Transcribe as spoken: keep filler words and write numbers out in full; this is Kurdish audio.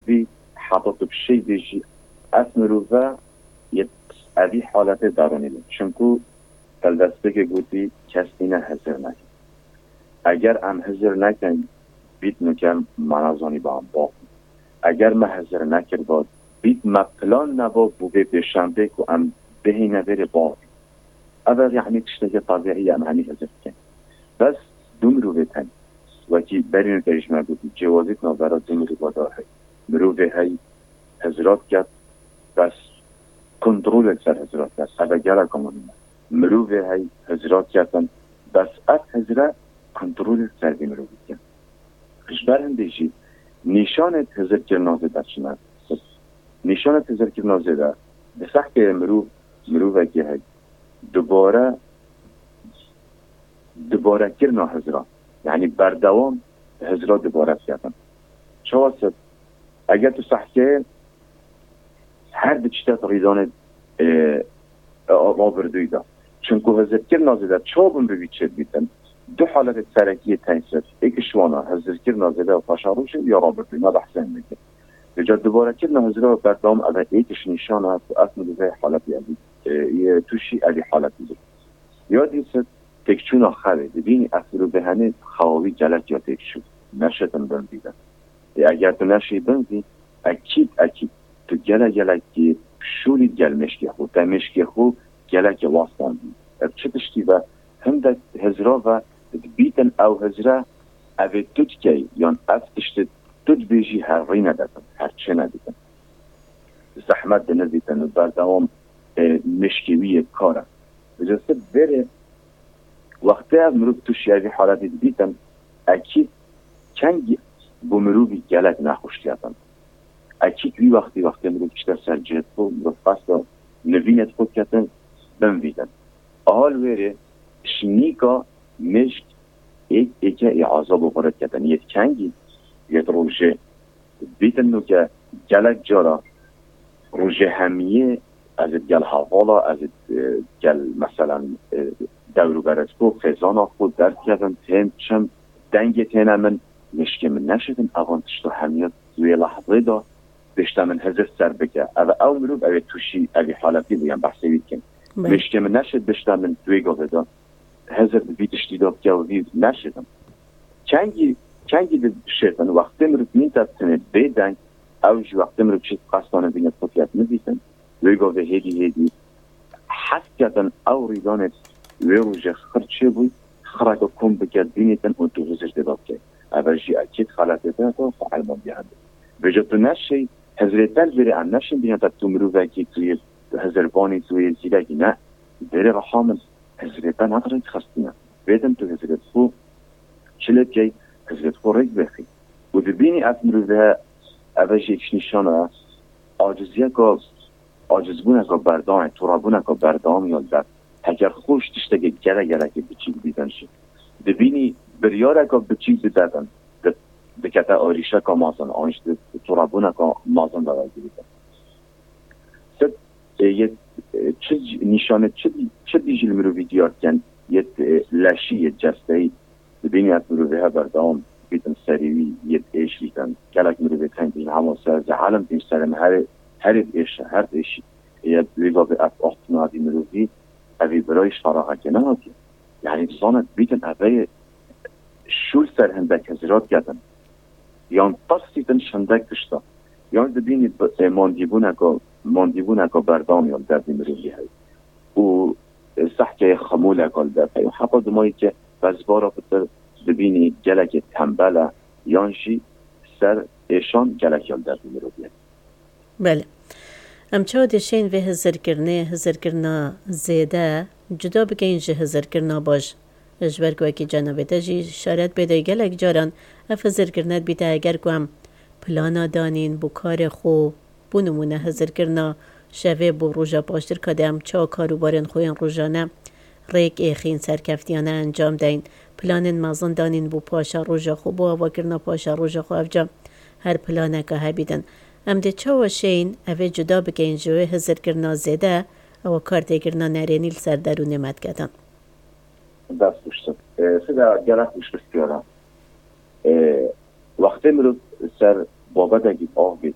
bî, heta tu bi şey bêjî, ev mirove yê evî haletê derûnî bû. Çimkû te li destpêkê gotî, kes nîne hizir neke. Eger em hizir nekin, bît nuke me nezanî ba em bavin. Eger me hizir nekirba, bît me plan neba bo vê pêşembê ku em bihîne vêrê bavin. Ev e, yanî tiştekî tebîî ye, em hemî hizir dikin. Bes du mirovê teng, wekî berî nuke jî me gotî, cêwazî di navbera du mirova de heye. Mirovê hey hizira diket, bes kontrolê li ser hizira diket. Ev e gelek muhîm e. Mirovê hey hizira diketin, bes ev hizire kontrolê li ser vî mirovî dikin. Ji ber hindê jî nîşanê hizirkirina zêde çi ne? Nîşanê hizirkirina zêde di sehkeyê mirov, mirovekî hey dubare, dubarekirina hizira. Yanî berdewam hizira dubare diketin. Çawa sed? Eger tu sehkeyê her di çi te rîdanê, e, e, rabirdûyî de. Çimkû hizirkirina zêde çawa bi mirov çêdibîtin? Du haletê serekî yê tensîr. Êk ji wan e hizirkirina zêde û paşerojê û ya rabirdûyî. Me behsê hindê kir. Vêca dubarekirina hizira berdewam ev e êk ji nîşan e ku ev mirove haletê evî, e, yê tûşî evî haletî bû. Ya dîsir têkçûna xewê. Dibînî ev mirove henê xewa wî gelek ya têkçû. Neşitin bin vî de. Ê, eger tu neşî bin vî, ekîd, ekîd, tu gelek gelekî şûlî gel mêşkê xwe. Te mêşkê xwe gelekî wastandî. Ev çi tiştî ve? Hindek hizira ve dibîtin ew hizire, ev ê tu dikey, yan ev tiştê tu dibêjî her rî nedikin, her çê nedikin. Zehmet dinivîtin, berdewam, e, mêşkê wî yê kar e. Vêca sib vêrê wextê ev mirov tûşî evî haletî dibîtin, ekîd kengî bo mirovî gelek nexweş diyatin. Ekîd wî wextî, wextê mirov çite ser cihê xwe, mirov qesta nivînê xwe diketin, bin vî de. Aha li wêrê şinîka mêşk êk êke ê azab û xwe diketin. Yê kengî, yê rojê. Dibîtin nuke gelek cara rojê hemiyê ez ê gel hevala, ez ê, e, gel, meselen, e, dewrûberê xwe, xêzana xwe, derdikevim, tên çim, dengê têne min, mêşkê min neşitin, evan tişta hemiya wê lehzê de bêşte min hizir ser bike. Ev, ew mirov, ew ê tûşî evî haletî bû, yan behsê wî dikin. Belê. Mêşkê min neşit bêşte min wê gavê de hizir di vî tiştî de bike û vî neşitin. Kengî, kengî dişêtin, wextê mirov mîn te tinê bê deng, ew jî wextê mirov çi qestane bîne xwe fiyat nivîsin, wê gavê hêdî hêdî hes ketin ew rîdanê wê rojê xir çêbûy, xireke kom bike bînîtin û tu hizir tê de bike. Ev jî ekîd xeletê te xwe elmandiye hebe. Vêca tu neşey, hizrê te li vêrê em neşin bîne te tu mirovekî tu yê hizirbanî, tu yê zîrekî ne. Vêrê reha min hizrê te ne rêk xistine. Bêdin tu hizrê xwe çi lê bikey, hizrê xwe rêk bêxî. Û dibînî ev mirove, ev e jî êk ji nîşana aciziyeka, acizbûneka berdewamê, torabûneka berdewamî ya li ber. Heger xwe ji tiştekê gelek gelekê biçîk bîtin jî. Dibînî biryareka biçîk bidedin, di-, dikete arîşeka mezin, an jî di, di torabûneka mezin de vegirîtin. Sed, e, yê, e, çi c-, nîşanê çi, çi dî jî li mirovî diyar dikin, yê, e, leşî, yê cesteyî. Dibînî ev mirovê he berdewam bîtin serî wî yê diêşîtin. Gelek mirovê teng dîn hema ser ze elm dîn serê me herê, herê diêşe, her diêşî. Yê wê gavê ev axtina vî mirovî, evî birayî ji feraxekê nehatiye. Yanî zane dibîtin ev ê şûl ser hindek hizira diketin. Yan tirsîtin ji hindek tişta. Yan dibînî bi-, e, mandîbûneka, mandîbûneka berdewam ya li derdî mirovî heye. Û, e, sehkeyê xemûleka li ber heye. Heta dimayî ke bezbara pitir dibînî gelekê tembel e, yan jî ser êşan gelek ya li derdî mirovî heye. Belê. Em çawa dê şên vê hizirkirinê, hizirkirina zêde, cuda bikeyin ji hizirkirina baş? Ji ber ku wekî cenabê te jî şaret bêde gelek caran ev hizirkirine dibîte eger ku em plana danîn bo karê xwe, bo nimûne hizirkirina şevê bo roja paştir ka dê em çawa kar û barên xwe yên rojane rêk êxîn, serkeftiyane encam deyn, planên mezin danîn bo paşa roja xwe, bo avakirina paşa roja xwe, evca her planeka hebîtin. Em dê çawa şeyin evê cuda bikeyin ji wê hizirkirina zêde, ewa kar têkirina nerênî li ser derûnê me diketin. Dest xweş. E, sida gelek xweş pirsiyara. E, wextê mirov ser babetekî av bêt,